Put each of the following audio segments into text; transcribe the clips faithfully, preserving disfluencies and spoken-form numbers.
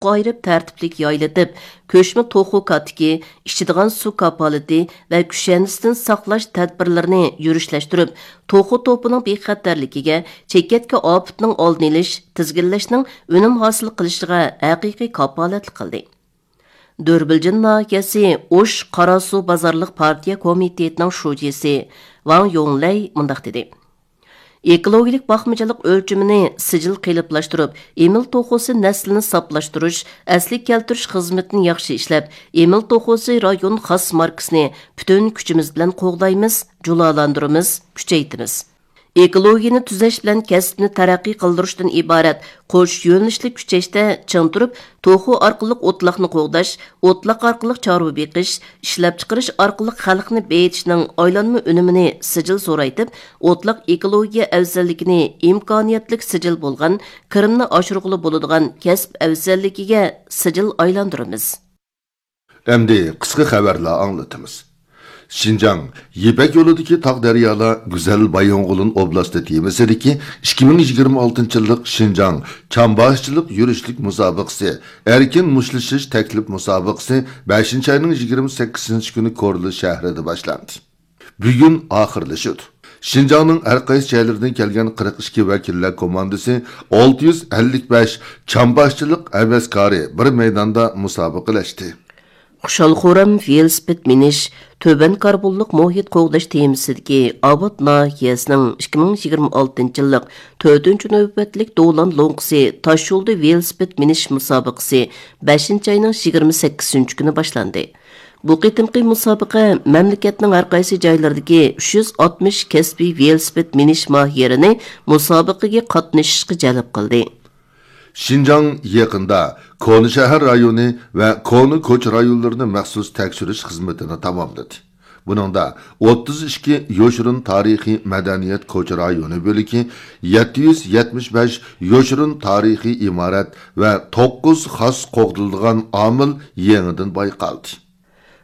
ئايرىپ تەرتىپلىك يايلىتىپ، كۆچمە توخۇ كاتىكى، ئىچىدىغان سۇ كاپالىتى ۋە كۈشەندىسىدىن ساقلاش تەدبىرلىرىنى يۈرۈشلەشتۈرۈپ، توخۇ توپىنىڭ بىخەتەرلىكىگە، چېكەتكە ئاپىتىنىڭ ئالدىنى ئېلىش، تىزگىنلەشنىڭ ئۈنۈم ھاسىل قىلىشىغا ھەقىقىي كاپالەتلىك قىلدى. دۆربىلجىن ناھىيەسى ئوش قاراسۇ بازارلىق پارتىيە كومىتېتىنىڭ شۇجىسى ۋاڭ يوڭلەي مۇنداق دېدى: ئېكولوگىيەلىك باقمىچىلىق ئۆلچىمىنى سىجىل قېلىپلاشتۇرۇپ، ئېمىل توخۇسى نەسلىنى ساپلاشتۇرۇش، ئەسلىگە كەلتۈرۈش خىزمىتىنى ياخشى ئىشلەپ، ئېمىل توخۇسى رايون خاس ماركىسىنى پۈتۈن كۈچىمىز بىلەن قوغدايمىز، جۇلالاندۇرىمىز، كۈچەيتىمىز. ئېكولوگىيەنى تۈزەش بىلەن كەسىپنى تەرەققىي قىلدۇرۇشتىن ئىبارەت قوش يۆنىلىشلىك كۈچەشتە چىڭ تۇرۇپ، توخۇ ئارقىلىق ئوتلاقنى قوغداش، ئوتلاق ئارقىلىق چارۋا بېقىش، ئىشلەپچىقىرىش ئارقىلىق خەلقنى بېيىتىشنىڭ ئايلانما ئۈنۈمىنى سىجىل زورايتىپ، ئوتلاق ئېكولوگىيە ئەۋزەللىكىنى ئىمكانىيەتلىك سىجىل بولغان، كىرىمنى ئاشۇرغىلى بولىدىغان كەسىپ ئەۋزەللىكىگە سىجىل ئايلاندۇرىمىز. ئەمدى قىسقا خەۋەرلەر ئاڭلىتىمىز. شىنجاڭ يىپەك يولىدىكى تاغ دەريالار گۈزەل بايىنغولىن ئوبلاستى تېمىسىدىكى ئىككى مىڭ يىگىرمە ئالتىنچى يىللىق شىنجاڭ چامباشچىلىق يۈرۈشلۈك مۇسابىقىسى، ئەركىن مۇشتلىشىش تەكلىپ مۇسابىقىسى بەشىنچى ئاينىڭ يىگىرمە سەككىزىنچى كۈنى كورلا شەھىرىدە باشلاندى. بۈگۈن ئاخىرلىشىدۇ. شىنجاڭنىڭ ھەر قايسى جايلىرىدىن كەلگەن قىرىق ئىككى ۋەكىللەر كوماندىسى، ئالتە يۈز ئەللىك بەش چامباشچىلىق ھەۋەسكارى بىر مەيداندا مۇسابىقىلەشتى. خۇشال-خۇرام ۋېلىسىپىت مىنىش، تۆۋەن كاربونلۇق مۇھىت قوغداش تېمىسىدىكى ئاۋات ناھىيەسىنىڭ ئىككى مىڭ يىگىرمە ئالتىنچى يىللىق تۆتىنچى نۆۋەتلىك دولان لوڭقىسى تاشيولدا ۋېلىسىپىت مىنىش مۇسابىقىسى بەشىنچى ئاينىڭ يىگىرمە سەككىزىنچى كۈنى باشلاندى. بۇ قېتىمقى مۇسابىقە مەملىكەتنىڭ ھەر قايسى جايلىرىدىكى ئۈچ يۈز ئاتمىش كەسپىي ۋېلىسىپىت مىنىش ماھىرىنى مۇسابىقىگە قاتنىشىشقا جەلپ قىلدى. شىنجاڭ يېقىندا كونا شەھەر رايونى ۋە كونا كوچا رايونلىرىنى مەخسۇس تەكشۈرۈش خىزمىتىنى تاماملىدى. بۇنىڭدا ئوتتۇز ئىككى يوشۇرۇن تارىخىي مەدەنىيەت كوچا رايونى بۆلىكى، يەتتە يۈز يەتمىش بەش يوشۇرۇن تارىخىي ئىمارەت ۋە توققۇز خاس قوغدىلىدىغان ئامىل يېڭىدىن بايقالدى.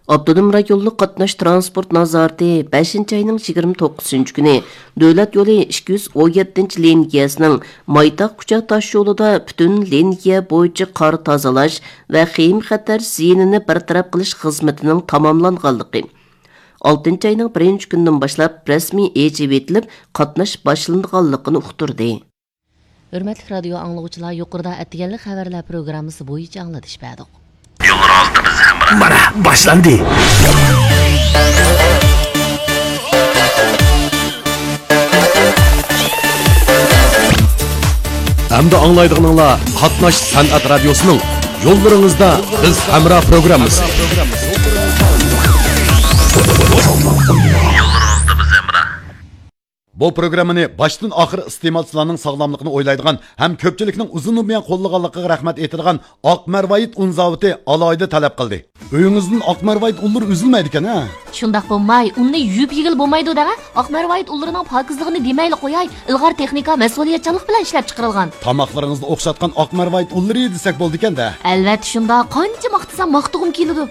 ئاپتونوم رايونلۇق قاتناش تىرانسپورت نازارىتى بەشىنچى ئاينىڭ يىگىرمە توققۇزىنچى كۈنى دۆلەت يولى ئىككى يۈز ئون يەتتىنچى لىنىيەسىنىڭ مايتاق كۇچا تاش يولىدا پۈتۈن لىنىيە بويىچە قار تازىلاش ۋە خېيىم خەتەر زىيىنىنى بىر تەرەپ قىلىش خىزمىتىنىڭ تاماملانغانلىقى، ئالتىنچى ئاينىڭ بىرىنچى كۈنىدىن باشلاپ رەسمىي ئېچىۋېتىلىپ، قاتناش باشلىنىدىغانلىقىنى ئۇقتۇردى. ھۆرمەتلىك رادىيو ئاڭلىغۇچىلار، يۇقىرىدا ئەتىگەنلىك خەۋەرلەر پروگراممىسى بويىچە ئاڭلىتىش بەردۇق. مانا، باشلاندى. ئەمدى ئاڭلايدىغىنىڭلار قاتناش سەنئەت رادىيوسىنىڭ يوللىرىڭىزدا بىز ھەمراھ پروگراممىسى. بۇ پروگراممىنى باشتىن ئاخىر ئىستېمالچىلارنىڭ ساغلاملىقىنى ئويلايدىغان ھەم كۆپچىلىكنىڭ ئۇزۇندىن بۇيان قوللىغانلىقىغا رەھمەت ئېيتىدىغان ئاق مەرۋايىت ئۇن زاۋۇتى ئالاھىدە تەلەپ قىلدى. ئۆيىڭىزدىن ئاق مەرۋايىت ئۇنلىرى ئۈزۈلمەيدىكەن، ھە؟ شۇنداق بولماي، ئۇننى يۇيۇپ يېگىلى بولمايدۇ دەڭە. ئاق مەرۋايىت ئۇنلىرىنىڭ پاكىزلىقىنى دېمەيلى قوياي، ئىلغار تېخنىكا، مەسئۇلىيەتچانلىق بىلەن ئىشلەپ چىقىرىلغان. تاماقلىرىڭىزنى ئوخشاتقان ئاق مەرۋايىت ئۇنلىرى دېسەك بولىدىكەن-دە. ئەلۋەتتە شۇنداق، قانچە ماختىسام ماختىغۇم كېلىدۇ.